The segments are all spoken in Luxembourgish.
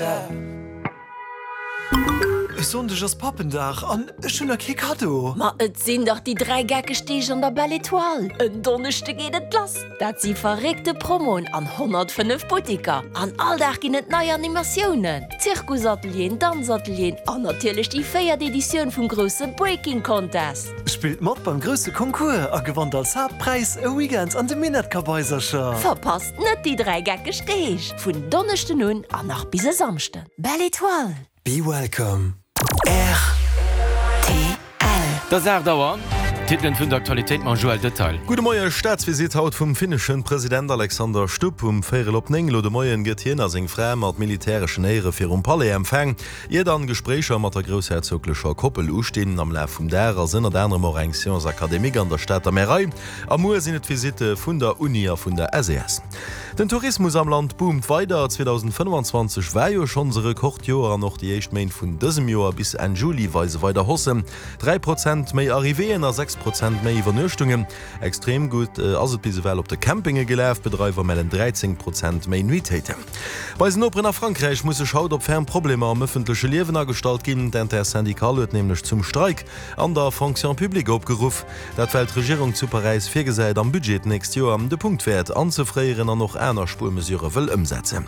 E Sonndeg ass Pappendag an ech hunn nach kee Kaddo. Ma et sinn dach déi 3 geckeg Deeg an der Belle Etoile. En Donneschde geet et lass. Dat si verréckte Promoen an 105 Buttiker. An all Dag ginn et nei Animatiounen, Zirkusatelieren, Danzatelieren an natierlech déi véiert Editioun vum grousse Breaking Contest. Spillt mat beim grousse Concours a gewannt als Haaptpräis e Weekend an de Minettkabaisercher. Verpasst net déi 3 geckeg Deeg! Vun Donneschden un an nach bis e Samschden. Belle Etoile! Be welcome. Rtl. Et ass 8 Auer. D'Titelen vun der Aktualitéit mam Joël Detail. Gudde Moie, Staatsvisitt haut vum finneschen President Alexander Stubb. Um véierel op 9 elo de Moien gëtt hien a seng Fra mat militäreschen Éiere virum Palais empfaang, ier dann Gespréicher mat der groussherzoglecher Koppel ustinn. Am Laf vum Dag ass ënnert anerem och eng Séance académique an der Stater Märei. A muer sinn et d'Visitte vun der Uni a vun der SES. Den Tourismus am Land boomt weider. 2025 war jo schonns e Rekordjoer an och déi éischt Méint vun dësem Joer bis Enn Juli weise weider Haussen. 3 Prozent méi Arrivéeën a 6 Prozent méi Iwwernuechtungen. Extrem gutt ass et bis ewell op de Campinge gelaf. D'Bedreiwer mellen 13 Prozent méi Nuitéiten. Bei eisen Noperen a Frankräich muss sech haut op ferm Problemer am ëffentleche Liewen agestallt ginn. D'Intersyndicale huet nämlech zum Streik an der Fonction publique opgeruff. Dat well d'Regierung zu Paräis virgesäit, am Budget d'nächst Joer de Punktwäert anzefréieren an och aner Spuermesurë wëll ëmsetzen.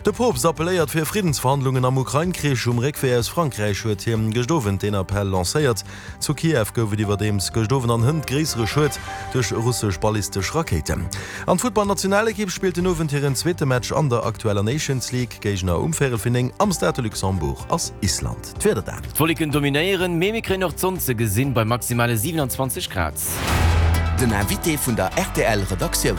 De Poopst appelléiert fir Friddensverhandlungen am Ukrain-Krich. Um Réckwee aus Frankräich huet hien gëscht Owend deen Appell lancéiert. Zu Kiew gouf et iwwerdeems gëscht Owend an hënt gréissere Schued duerch russesch ballistesch Rakéiten. An d'Futtballnationalekipp spillt den Owend hiren zweete Match an der aktueller Nations League. Géigner um véierel fir 9 am Stade de Luxembourg ass Island. D'Wieder dan. D'Wolleken dominéieren, mee mir kréien och d'Sonn ze gesinn bei maximale 27 Grad. Den Invité vun der rtl Redaktioun.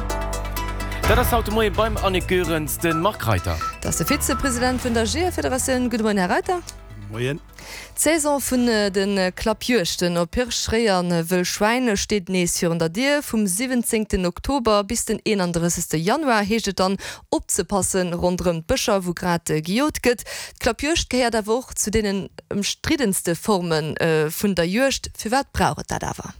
Dat ass haut de Moie beim Annick Goerens de Marc Reiter. Dat ass de Vizepresident vun der Jeeërfederatioun. Gudde Moien, Här Reiter. Moien. D'Saison vun de Klappjuegten op Hirsch, Réi a Wëll Schwäin steet nees virun der Dier. Vum 17 Oktober bis den 31 Januar heescht et dann opzepassen ronderëm d'Bëscher, wou grad gejot gëtt. D'Klappjuegd gehéiert awer och zu deenen ëmstriddenste Forme vun der Juegd. Firwat brauch et dat awer?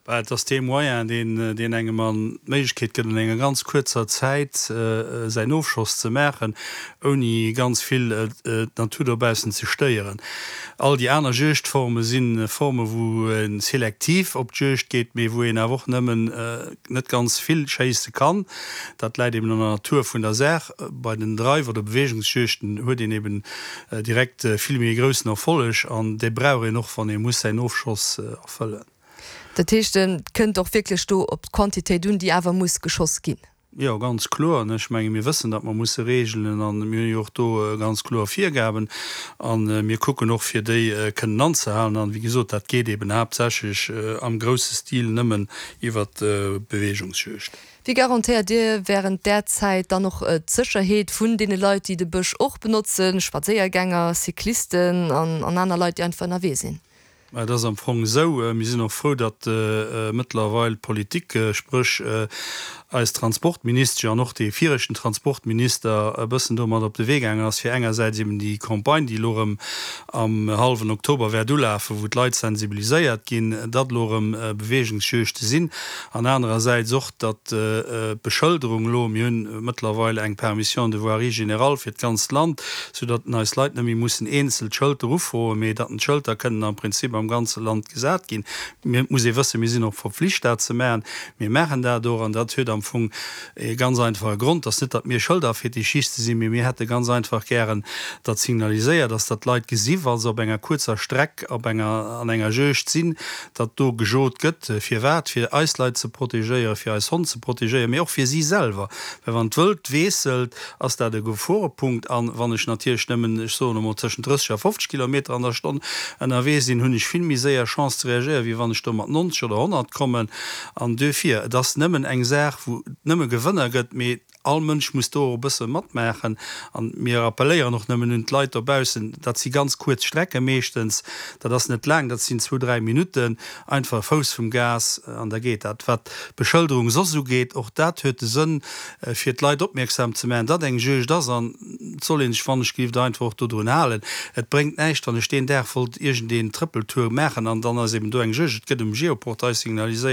Bah, et ass dee Moyen, deen, deen engem an d'Méiglechkeet gëtt, an enger ganz kuerzer Zäit säin Ofschoss ze maachen, ouni ganz vill d'Natur dobaussen ze stéieren. All déi aner Juegdforme si Forme wou ee selektiv op d'Juegd geet, mee wou een awer och nëmmen net ganz vill schéisse kann. Dat läit eben an der Natur vun der Saach. Bei den Dreif oder Beweegungsjuegten huet een eben direkt vill méi e groussen Erfolleg an dee brauch een och, wann ee muss säin Ofschoss erfëllen. Dat heescht, et kënnt och wierklech do op d'Quantitéit un, déi awer muss geschoss ginn? Jo, ganz kloer. Ech menge mir wëssen, datt mer musse reegelen an mir hunn jo och do ganz kloer Virgaben a mir kucken och fir déi kënnen anzehalen. An, wéi gesot, dat geet eben haaptsächlech am grousse Stil nëmmen iwwert d'Beweegungsjuegd. Wéi garantéiert Dir während där Zäit dann och d'Sécherheet vun deene Leit, déi de Bësch och benotzen, Spadséiergänger, Cyclisten an aner Leit, déi einfach ënnerwee sinn? Mä et ass am Fong esou, mir sinn och frou, datt mëttlerweil d'Politik, spréch eis Transportministesch an och dee viregten Transportminister e bëssen domat op de Wee gaangen ass, fir engersäits eben déi Campagne, déi elo erëm am hallwen Oktober wäert ulafen, wou d'Leit sensibiliséiert ginn, datt elo erëm Beweegungsjuegte sinn, an anerersäits och, datt d'Beschëlderung elo, mir hunn mëttlerweil eng Permission de voirie générale fir d'ganzt Land, soudatt eis Leit net méi mussen eenzel d'Schëlter ufroen, mee datt d'Schëlter kënnen am Prinzip am ganze Land gesat ginn. Mir, et muss ee wëssen, mir sinn och verpflicht dat ze maachen. Mir maachen dat och an dat huet am Fong ee ganz einfache Grond, dass net, datt mir Schëlderfetischiste sinn, mee mir hätte ganz einfach gären, datt signaliséiert ass, datt d'Leit gesi wa se op enger kuerzer Streck op enger, an enger Juegd sinn, datt do gejot gëtt. Firwat? Fir eis Leit ze protegéieren, fir eis Honn ze protegéieren, mee och fir si selwer. Well wann d'Wëld wiesselt, ass dat e Geforepunkt. A wann ech natierlech nëmmen, ech soen emol, tëschent 30 a 50 Kilometer an der Stonn ënnerwee sinn, hunn ech vill méi séier Chance ze reagéieren, wéi wann ech do mat 90 oder 100 kommen. An duerfir, et ass nëmmen eng Saach, wou et nëmme Gewënner gëtt, mee All Mënsch muss do och e bësse matmaachen. An mir appelléieren och nëmmen un d'Leit dobaussen, dat si ganz kuerz Strecke meeschtens, dat ass net laang, dat sinn zwou, dräi Minutten, einfach e Fouss vum Gas an da geet dat. Wat d'Beschëlderung soss ugeet, och dat huet de Sënn, fir d'Leit opmierksam ze maachen, datt eng Juegd ass. An et soll ee sech wannechgelift einfach och dodrun halen. Et bréngt näischt, wann ech deen Dag wollt iergendeen Trëppeltour maachen an dann ass eben do eng Juegd. Et gëtt um Geoportail signaliséiert.